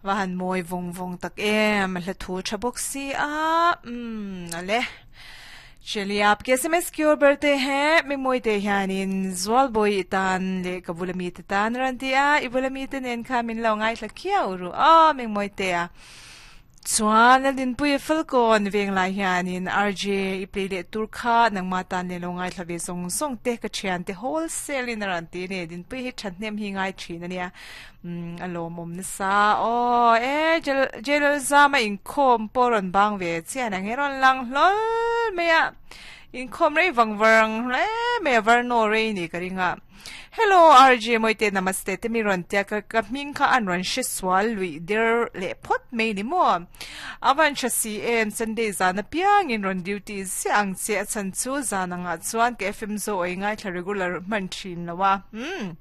Va han mawi vawng vawng tak em, hla thu tha bawk si a, umm ale. Cheliah aapke sms ki or berte he, mi mawi te hianin Zualbawi i tan leh ka bula mite tan a rawn ti a, i bula mite nen khan min lo ngaithla khiau ru aw mi mawi te a. Chuan Laldinpuia Falkawn veng lai hianin RJ i play leh tur kha nangmah tan leh lo ngaithla ve zawng zawng te ka thian te wholesale in a rawn ti a ni. Dinpuia hi thahnem hi ngai thin a nia. Umm a lawmawm nasa aw e Jalal Zama inkhawm pawh rawn bang ve chian ang he rawn lang hlawl mai a inkhawm rei vang vang hle mai a varnaw rei ni ka ring a. Hello RJ Mawite Namaste te mi rawn tia ka ka hming kha an rawn hre sual luih der leh phawt mai ni maw? A van hre si em Sunday zan apiang in rawn duty ziah ang che a chhan chu zan angah chuan ka FM zo awih ngaithla regular hman thin lo a umm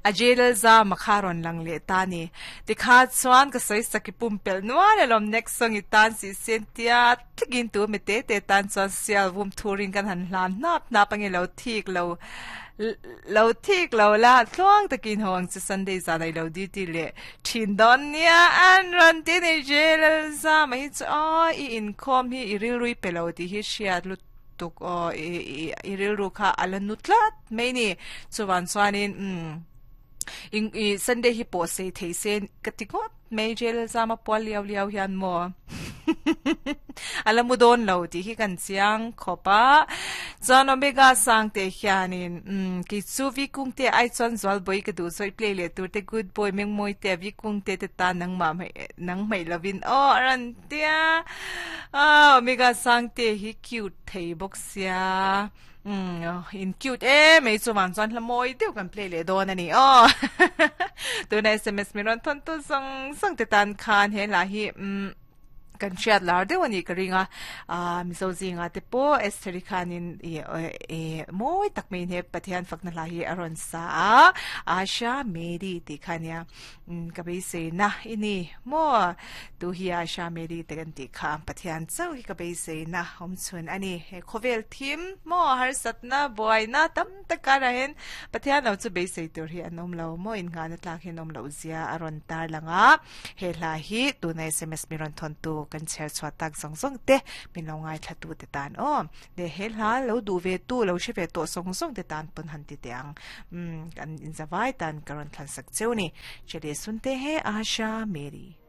A jail zam a kha rawn lang leh ta ni tikha chuan ka sawi sak i pumpelh nual alawm next song i tan sih sen tia tlikin tu mi te te tan chuan sial vum thurin kan han hlan hnap hnap ange lo thik lo lo thik lo la tluang takin ho ang chu Sunday zan ai lo duty leh thin dawn nia an rawn ti ni jail zam a hi chu aw i inkhawm hi i rilrui pe lo tih hi hriat lut tuk aw i i i rilru kha a la nu tlat mai ni chuvan chuanin umm in i Sunday hi pawh sei thei se ka ti ngawt mai jail zama pual liau liau hian maw a la mu dawn lo tih hi kan chiang khawp a chuan Omega sang te hianin umm kei chu vi kung te ai chuan zual bawi ka duh zawih play leh tur te good boy mengmawi te vi kung te te tan nangmah nang hmaih lovin aw a rawn Tia ah Omega Sangte hi cute thei bawk sia umm in cute em mai chuvang chuan hla mawi deuh kan play leh dawn a ni aw tuna sms min rawn thawn tu zawng zawng te tan khan he hla hi umm kan hriat lar deuh a nih ka ring a ah Mizo zinga te pawh Estheri khanin ih eh mawi tak maiin he Pathian fakna hla hi a rawn sa a Asha Mary tih kha a nia. Ka beiseina i ni maw? Tu hi Asha Mary te kan tih kha Pathian chauh hi ka beiseina awm chhun a ni. He khawvel thim maw harsatna buaina tam tak karah hian Pathian lo chu beisei tur hi an awm lo maw innghahna tlak hi an awm loh zia a rawn tar lang a. He hla hi tuna sms mi rawn thawntu kan chhiar chhuah tak zawng zawng te min lo ngaithlatu te tan aw. Leh he hla lo duh ve tu lo hre ve tawh zawng zawng te tan pawn han ti teh ang. Umm kan inzavai tan ka rawn thlan sak cheu ni. Chale Sunte he Asha Mary.